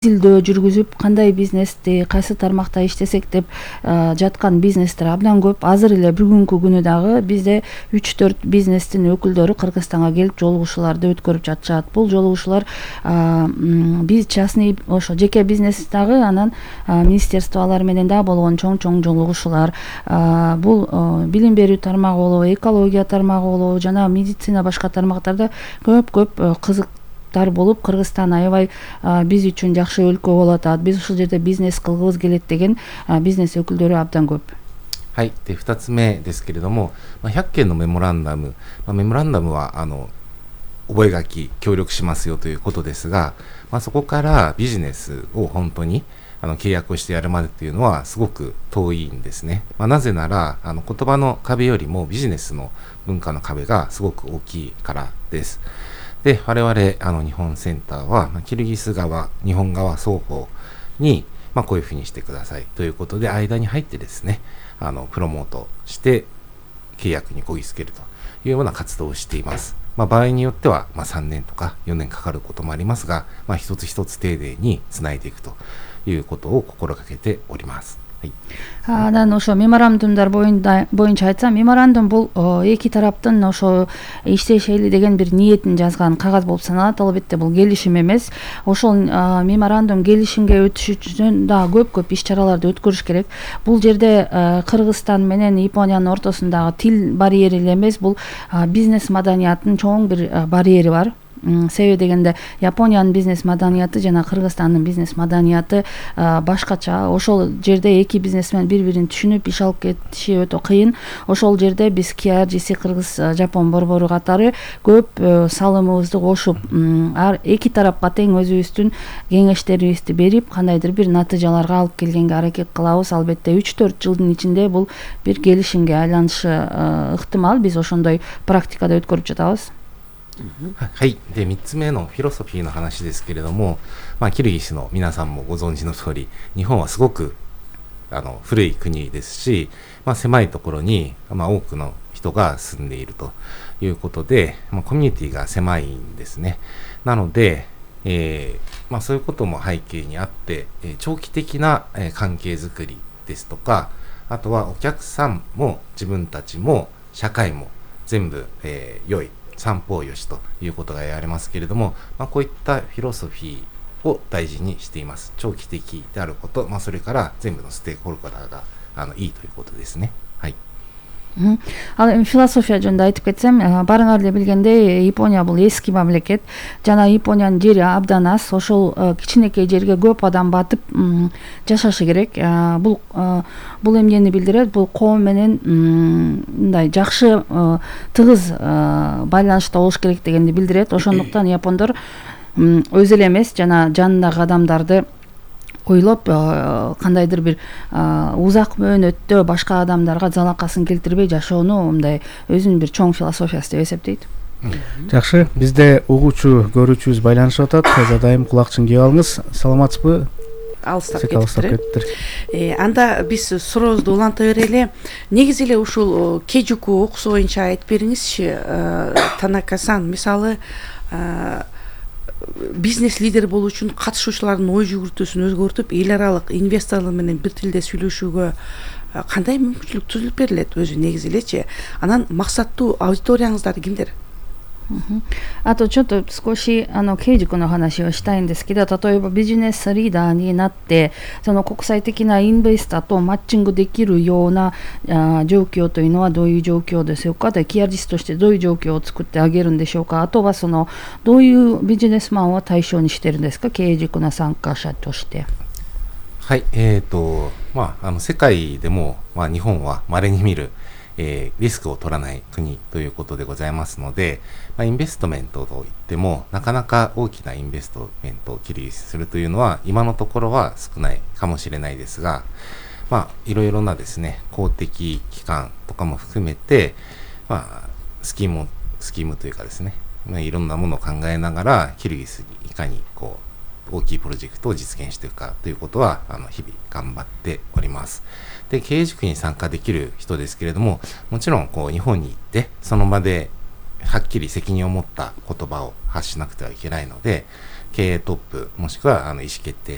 изилдөө жүргүзүп кандай бизнести кайсы тармакта иштесек деп жаткан бизнестер абдан көп. Азыр эле бүгүнкү күнү дагы бизде 3-4 бизнестин өкүлдөрү Кыргызстанга келип жолугушууларды өткөрүп жатышат. Бул жолугушуулар биз частный ошо жеке бизнес дагы, анан министерстволор менен да болгон чоң жолугушуулар. Бул билим берүү тармагы болобу, экология тармагы болобу, жана медицина башка тармактарда көп кызык болуп, Кыргызстан аябай биз үчүн жакшы өлкө болуп атат, биз ушул жерде бизнес кылгыбыз келет деген бизнес өкүлдөрү абдан көп. はい。で、2つ目ですけれども、100件のメモランダム、メモランダムは覚書協力しますよということですが、そこからビジネスを本当に契約をしてやるまでというのはすごく遠いんですね。なぜなら言葉の壁よりもビジネスの文化の壁がすごく大きいからです。で、我々日本センターは、キルギス側、日本側双方に、こういうふうにしてくださいということで間に入ってですね、プロモートして契約にこぎつけるというような活動をしています。場合によっては、3年とか4年かかることもありますが、一つ一つ丁寧につないでいくということを心がけております。Анан ошо меморандумдар боюнча айтсам, меморандум бул эки тараптын ошо иштешели деген бир ниетин жазган кагаз болуп саналат. Албетте бул келишим эмес. Ошол меморандум келишимге өтүш үчүн да көп иш-чараларды өткөрүш керек. Бул жерде Кыргызстан менен Япониянын ортосундагы тил барьери эле эмес, бул бизнес маданиятынын чоң бир барьери бар. Себеби дегенде Япониянын бизнес маданияты жана Кыргызстандын бизнес маданияты башкача. Ошол жерде эки бизнесмен бири-бирин түшүнүп иш алып кетиши өтө кыйын. Ошол жерде биз KRGC Кыргыз-Жапон борбору катары көп салымыбызды кошуп, эки тарапка тең өзүбүздүн кеңештерибизди берип, кандайдыр бир натыйжаларга алып келгенге аракет кылабыз. Албетте 3-4 жылдын ичинде бул бир келишимге айланышы ыктымал. Биз ошондой практикада өткөрүп жатабыз. はい。で、3つ目のフィロソフィーの話ですけれども、キルギスの皆さんもご存知の通り、日本はすごく古い国ですし、狭いところに、多くの人が住んでいるということで、コミュニティが狭いんですね。なので、そういうことも背景にあって、長期的な関係づくりですとか、あとはお客さんも自分たちも社会も全部、良い三方よしということが言われますけれども、こういったフィロソフィーを大事にしています。長期的であること、それから全部のステークホルダーがいいということですね。はい。Ал эми философия жөнүндө айтып кетсем, барыңар эле билгендей, Япония бул эски мамлекет. Жана Япониянын жери абдан аз. Ошол кичинекей жерге көп адам батып жашашы керек. Бул эмнени билдирет? Бул коом менен мындай жакшы тыгыз байланышта болуш керек дегенди билдирет. Ошондуктан япондор өзү эле эмес, жана жанындагы адамдарды ойлоп, кандайдыр бир узак мөөнөттө башка адамдарга залакасын келтирбей жашоону мындай өзүнүн бир чоң философиясы деп эсептейт. Жакшы, бизде угуучу көрүүчүбүз байланышып атат. Жадайым кулакчын кийип алыңыз. Саламатсызбы? Алыстап кетиптир. Анда биз сурообузду уланта берели. Негизи эле ушул Кейжуку окуусу боюнча айтып бериңизчи, Танака-сан. Мисалы, бизнес лидер болуу үчүн катышуучулардын ой жүгүртүүсүн өзгөртүп, эл аралык инвесторлор менен бир тилде сүйлөшүүгө кандай мүмкүнчүлүк түзүлүп берилет өзү негизи элечи? Анан максаттуу аудиторияңыздар кимдер? あとちょっと少しケイジ君の話をしたいんですけど、例えばビジネスリーダーになってその国際的なインベスターとマッチングできるような状況というのはどういう状況でしょうか。で、キアリストとしてどういう状況を作ってあげるんでしょうか。あとはどういうビジネスマンを対象にしてるんですか、ケイジ君の参加者として。はい。世界でも、日本は稀に見るリスクを取らない国ということでございますので、インベストメントといってもなかなか大きなインベストメントを切りするというのは今のところは少ないかもしれないですが、いろいろなですね、公的機関とかも含めて、スキームというかですね、いろんなものを考えながらキルギスにいかに大きいプロジェクトを実現していくかということは日々頑張っております。で、経営塾に参加できる人ですけれども、もちろん日本に行ってその場ではっきり責任を持った言葉を発しなくてはいけないので、経営トップもしくは意思決定